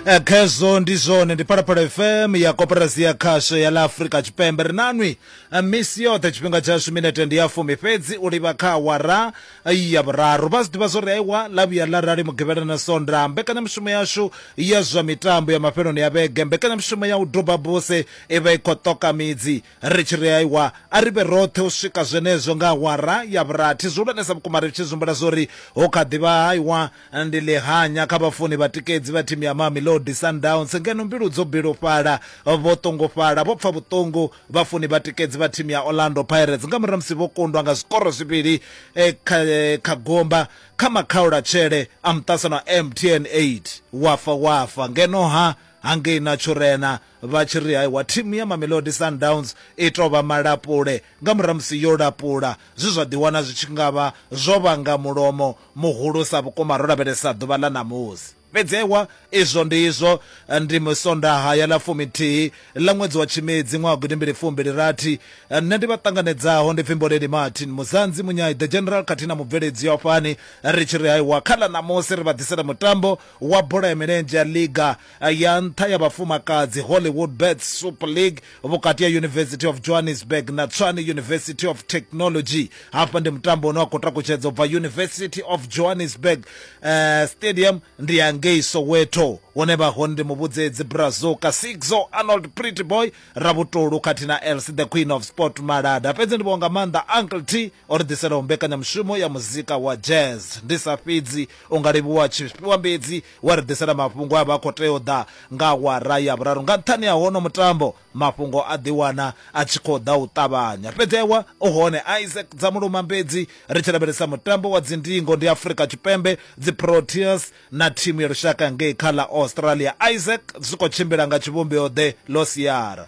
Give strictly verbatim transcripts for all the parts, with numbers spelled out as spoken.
Khezwo ndi zwone, ndi Phalaphala F M ya Koporasi ya Khasho ya ḽa Afrika Tshipembe. Ri nanwi misi yoṱhe, tshifhinga tshashu minete ndi ya fumi fhedzi u livha kha awara ya vhuraru. Vha zwi ḓivha zwo ri aiwa ḽa vhuya ḽa rali Mugivhela na Sonda, mbekanyamushumo yashu ya zwa mitambo ya mafheloni ya vhege, mbekanyamushumo ya u duba buse i vha i khou ṱoka midzi. Ri tshi ri aiwa a ri vhe roṱhe u swika zwenezwo nga awara ya vhurathi. Zwihulwanesa vhukuma ri tshi zwihumbula zwo ri ho kha ḓivha aiwa ndi ḽihanya kha vhafuni vhatikedzi vha thimu ya Mamelodi Sundowns, ngeno mbilu dzo bilufhala, vho ṱungufhala, vho pfa vhuṱungu vhafuni vhatikedzi vha thimu ya Orlando Pirates nga murahu musi vho kundwa nga zwikoro zwivhili eh, kha, eh, kha gomba kha makhaulatshele a muṱasano wa M T N eight. Wafa wafa ngeno ha hangei na Tshurena vha tshi ri haiwa thimu ya Mamelodi Sundowns i tou vha malapule nga murahu musi yo lapula, zwi zwa ḓiwana zwi tshi nga vha zwo vhanga mulomo muhulusa vhukuma ro lavhelesa ḓuvha ḽa ṋamusi. Fhedzi aiwa izwo ndi izwo, ndi musondaha ya ḽa fumithihi ḽa ṅwedzi wa Tshimedzi ṅwaha gidi mbili fumbili rathi. Nṋe ndi vha ṱanganedzaho ndi pfi Mboleli Martin Muzanzi Munyai the General khathihi na mubveledzi wa fani. Ri tshi ri haiwa kha ḽa ṋamusi ri vha ḓisela mutambo wa bola ya milenzhe ya liga ya nṱha ya vhafumakadzi Hollywood Bets Super League vhukati ya University of Johannesburg na Tshwane University of Technology. Hafha ndi mutambo une wa khou takutshedza u bva University of Johannesburg uh, Stadium ndi ya ngei Soweto, hune vha hone ndi muvhudzedzi Brazuka Sixo Arnold Pretty Boy Rabutulu khathihi na Elsie the Queen of Sport Malada. Fhedzi ndi vhonga maanḓa Uncle T o ri ḓiselaho mbekanyamushumo ya muzika wa jazz. Ndi sa fhidzi u nga livhuwa tshifhiwa mbedzi wa ri ḓisela mafhungo a vha khou tea u ḓa nga awara ya vhuraru. Nga nṱhani ha hono mutambo mafhungo a ḓiwana a tshi khou ḓa u ṱavhanya. Fhedzi aiwa u hone Isaac Dzamuluma Mbedzi ri tshi lavhelesa mutambo wa dzindingo ndi Afrika Tshipembe dzi Proteas na thimu ya lushaka ngei kha ḽa Australia. Isaac zwi khou tshimbila nga tshivhumbeo ḓe ḽo siara.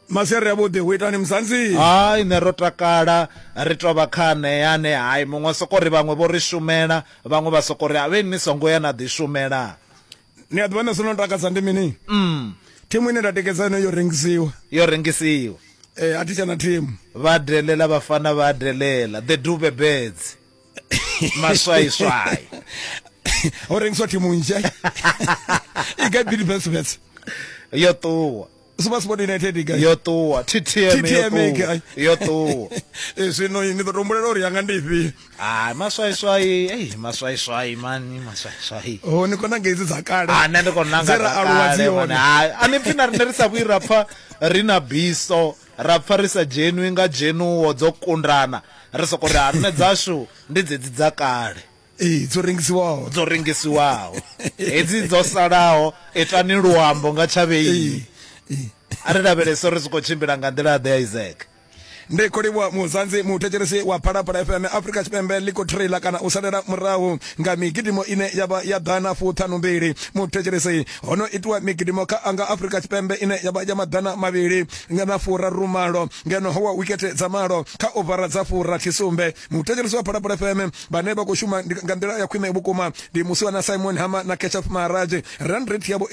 Masiari avhuḓi, hu itani Muzanzi? Hai, nṋe ro takala, ri tou vha kha ane hai muṅwe soko ri vhaṅwe vho ri shumela, vhaṅwe vha soko ri a vhe ni songo ya na ḓi shumela. Ni a ḓivha nṋe zwino takadza ndi mini? Mm. Thimu ine nda tikedza yone yo rengisiwa. Yo rengisiwa. Eh, a thi tsha na thimu. Vha delela vhafana vha delela, the Dube Birds. Maswaiswai. Ho rengiswa thimu nzhe. I gai Bidvest Wits? Yo ṱuwa. SuperSport United i gai? Yo ṱuwa. T T M T T M i gai? Yo ṱuwa. Eh, zwino ni ḓo to humbulela uri yanga ndi ifhio. Ah, maswaiswai, ei maswaiswai mani, maswaiswai. Oh, ni khou nanga hedzi dza kale. Ah, nṋe ndi khou nanga Dze ra dza aluwa dzi kale, hone. mani. Hai, a ni pfi na riṋe ri sa vhuyi ra pfa ri na biso, ra pfa ri sa dzhenwi nga dzhenuwo dzo kundana. Ri soko ri ha nṋe dzashu ndi dzedzi dza kale. Ee, dzo rengisiwaho. Dzo rengisiwaho. Hedzi dzo salaho itani luambo nga tshavheini. A ri lavhelese uri zwi khou tshimbila nga nḓila ḓe, Isaac. Ndi khou livhuwa Muzanzi, muthetshelesi wa Phalaphala F M. Afrika Tshipembe ḽi khou trailer kana u salela murahu nga migidimo ine ya vha ya ḓana fuṱhanu mbili. Muthetshelesi, ho no itiwa migidimo kha anga Afrika Tshipembe ine ya vha ya maḓana mavhili na furaru malo, ngeno ho wa wikete dza malo kha ovara dza furathi sumbe. Muthetshelesi wa Phalaphala F M vhane vha khou shuma nga nḓila ya khwine vhukuma ndi Musiwana Simon Hama na Keshav Maharaj. Run rate yavho